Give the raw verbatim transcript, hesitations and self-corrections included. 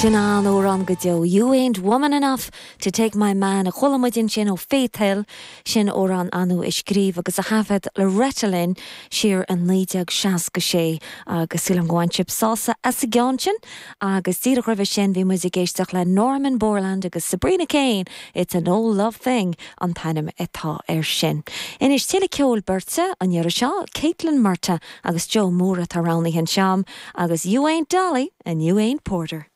Sin an-amhrán go deo. You ain't woman enough to take my man a chuala muid ansin ó Faith Hill sin amhrán Anu a scríobh agus a thaifead Loretta Lynn siar in naoi déag seasca sé agus sílim go bhain sibh sásamh as an gceann sin agus díreach roimhe sin bhí muid ag éisteacht le Norman Borland agus Sabrina Kane It's an old love thing an t-ainm atá air sin. Anois tuilleadh ceoil beirte an iarraidh seo Caitlin Murtagh agus Joe Moore atá roghnaithe anseo agus You ain't Dolly and you ain't Porter.